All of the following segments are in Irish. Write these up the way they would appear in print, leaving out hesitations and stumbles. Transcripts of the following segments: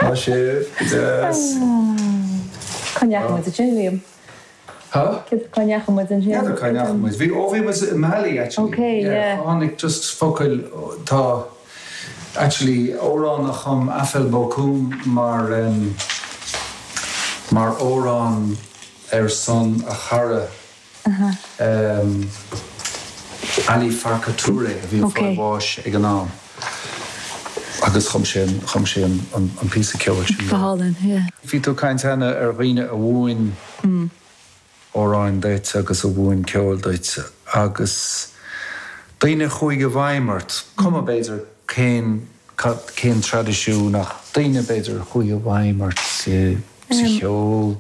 Maith sibh, go deas. Cá ndeachaigh muid ansin, Liam? Huh? Cá ndeachaigh muid ansin? N'fheadar cá ndeachaigh muid. Bhí, ó bhí muid i Mali actually. Okay, yeah. Tháinig just focail, tá actually amhrán a chum Afel Bocoum mar mar amhrán ar son a chara Ali Farka Touré a bhí ag fáil bháis ag an am agus chum sé chum sé an píosa ceoil sin dó. Go hálainn, yeah. Bhí tú ag caint cheana ar dhaoine a mhúin amhráin duit agus a mhúin ceol duit agus daoine a chuaigh i bhfeidhm ort, cuma b'fhéidir cén cén traidisiún ach daoine b'fhéidir a chuaigh i bhfeidhm ort sa cheol.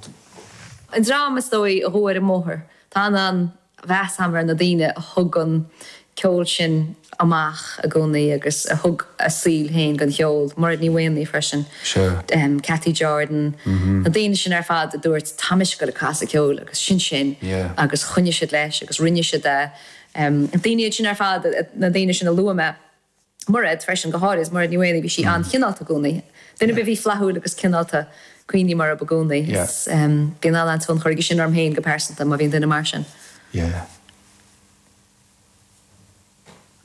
An dream is dóigh a ghabh ar an mbóthar. Tá an-mheas agam ar na daoine a thug an ceol sin amach i gcónaí agus a thug a saol féin don cheol. Mairéad Ní Mhaonaigh freisin, Cathy Jordan, na daoine sin ar fad a dúirt 'tá mise ag dul ag casadh ceoil' agus sin sin agus choinnigh siad leis agus rinne siad é. Na daoine iad sin ar fad, na daoine sin a luaigh mé. Mairéad freisin, go háirid Mairéad Ní Mhaonaigh, bhí sí an-chineálta i gcónaí. Duine ar bith a bhí flaithiúil agus cineálta, cuimhním orthu i gcónaí. Bíonn an-tionchar aige sin orm féin go pearsanta, má bhíonn duine mar sin. Yeah.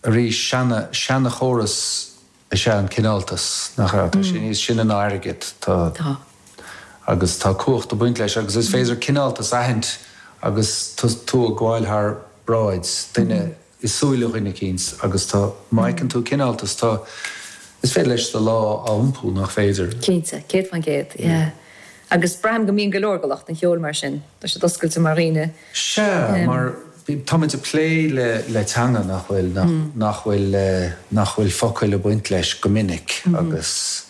Arís, seana, seanachóras is ea an cineáltas, nach ea? Tá sé níos sine ná airgead. Tá. Tá. Agus tá cumhacht ag baint leis agus is féidir cineáltas a aithint agus tú ag gabháil thar bráid, duine, i súile dhuine eicínt agus tá, má fheiceann tú cineáltas, tá, is féidir leis do lá a iompú, nach féidir? Cinnte, 100%, yeah. Agus braithim go mbíonn go leor de lucht an cheoil mar sin, tá siad oscailte mar dhaoine. Sea, mar táimid ag plé le, le teanga nach bhfuil, nach, nach bhfuil, nach bhfuil focail ag baint leis go minic agus,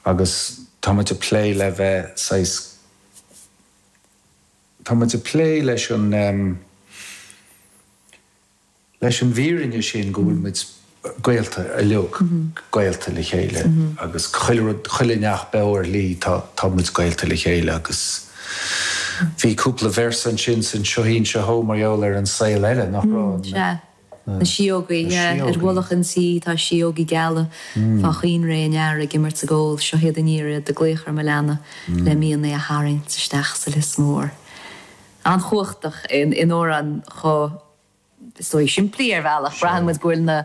agus táimid ag plé le bheith saghas, Tá muid ag plé leis an leis an bhfírinne sin go bhfuil muid gaolta uilig, gaolta le chéile agus chuile rud, chuile neach beo ar shlí tá tá muid gaolta le chéile agus bhí cúpla véarsa ansin san Seo Shín Seo Shó mar gheall ar an saol eile, nach raibh? Sea. Na síógaí, yeah. Ar mhullach an tí tá síógaí geala fá choinnré an earraigh ag imirt 's ag ól, seo iad aniar iad ag glaoch ar mo leanna le mian é a tharraingt isteach sa lios mór. An-chumhachtach in amhrán chomh, is dóigh, simplí ar bhealach. Braitheann muid go bhfuil na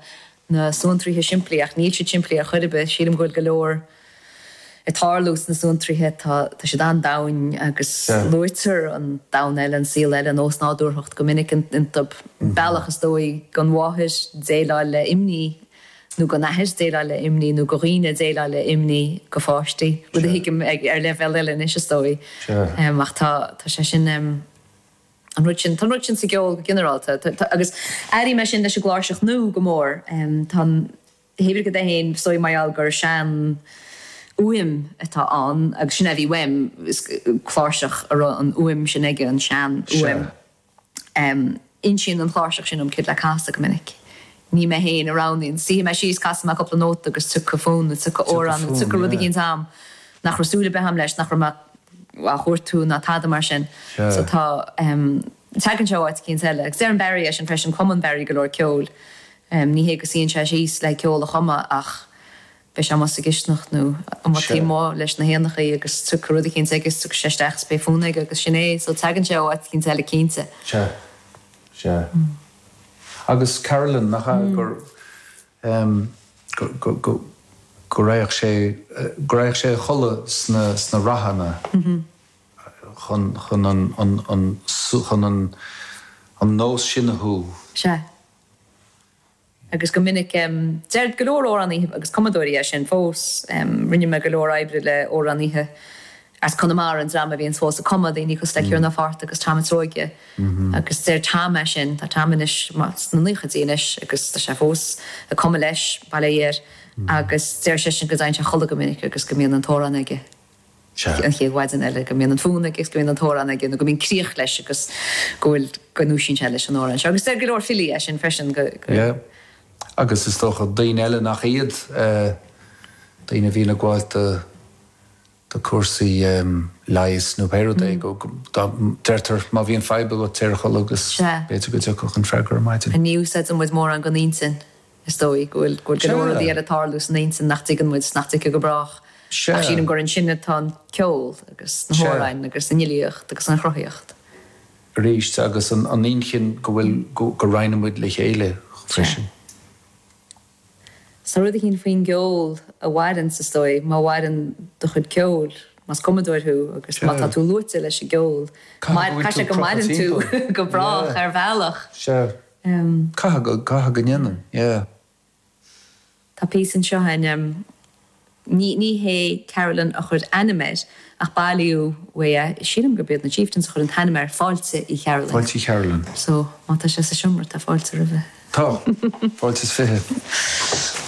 na suantraithe simplí ach níl siad simplí ar chor ar bith. Sílim go bhfuil go leor ag tarlú sna suantraithe. Tá siad an-domhain agus luaitear an domhan eile, an saol eile, an ósnádúrthacht go minic iontu. Bealach is dóigh don mháthair déileáil le imní nó don athair déileáil le imní nó do dhaoine déileáil le imní do pháistí, rud a thuigim ar leibhéal eile anois is dóigh. Ach tá sé sin, an rud sin, tá an rud sin sa gceol go ginearálta agus airím é sin leis an gcláirseach nua go mór. Tá an. Hé bith cad é féin, is dóigh mar gheall gur sean fhuaim atá ann agus sin é a bhí uaim, is cláirseach a raibh an fhuaim sin aige, an sean fhuaim. Insíonn an chláirseach sin dom céard le casadh go minic. Ní mé féin a roghnaíonn. Suífidh mé síos, casfaidh mé cúpla nóta agus tiocfaidh fonn nó tiocfaidh amhrán nó tiocfaidh rud eicínt a'm nach raibh súil ar bith a'm leis, nach raibh mé á chuartú ná tada mar sin. So tá, tagann sé ó áit eicínt eile. Agus deireann Barry é sin freisin, cumann Barry go leor ceoil. Ní hé go suíonn sé síos le ceol a chumadh ach beidh sé amuigh sa gcisteanach nó amuigh taobh amuigh leis na héanachaí agus tiocfaidh rud eicínt aige is tiocfaidh sé isteach is beidh fonn aige agus sin é. So tagann sé ó áit eicínt eile cinnte. Sea. Sea. Agus Carolyn, nach ea gur, go, go, go raghadh sé, go raghadh sé a chodladh sna, sna ráthanna chun, chun an, an, an, chun an, an nós sin a shú. Sea. Agus go minic, deir go leor amhránaithe agus cumadóirí é sin fós. Rinne mé go leor oibre le amhránaithe as Conamara, an dream a bhíonns fós ag cumadh, daoine cosúil le Ciarán Ó Fátharta agus Tom an tSeoige. Agus deir Tom é sin, tá Tom anois sna naochaidí anois agus tá sé fós ag cumadh leis, bail ó Dhia air, agus deir seisean go dtéann sé a chodladh go minic agus go mbíonn an t-amhrán aige. an chéad mhaidin eile, go mbíonn an fonn aige agus go mbíonn an t-amhrán aige nó go mbíonn críoch leis agus go bhfuil, go ndúisíonn sé leis an amhrán seo. Agus deir go leor filí é sin freisin, go. Yeah. Agus is dócha daoine eile nach iad, daoine a bhíonn ag gabháil do, do cúrsaí leighis nó pé rud é, go, dá, deirtear má bhíonn fadhb agat téir a chodladh agus b'fhéidir go dtiocfadh an freagra ar maidin. Ní úsáideann muid mórán den intinn. Is dóigh go bhfuil go bhfuil go leor rudaí eile ag tarlú san intinn nach dtuigeann muid, nach dtuigfidh go brách. Ach sílim gur ansin atá an ceol agus na hamhráin agus an fhilíocht agus an chruthaíocht. Arís, agus an inchinn go bhfuil, go roinneann muid le chéile freisin. Tá rud eicínt faoin gceol a mhaireann, is dóigh, má mhaireann do chuid ceoil, más cumadóir thú agus má tá tú luaite leis an gceol, caithfidh sé go maireann tú go brách ar bhealach. Sea. Caithfidh go, caithfidh go ndéanann, yeah. Tá píosa anseo againn, ní, ní hé Carolan a chuir ainm air, ach bailíodh uaidh é, sílim gurb iad na Chieftains a chuir an t-ainm air, Fáilte Uí Chearúlain. Fáilte Uí Chearúlain. So, má tá sé sa seomra, tá fáilte roimhe. Tá. Fáilte is 20.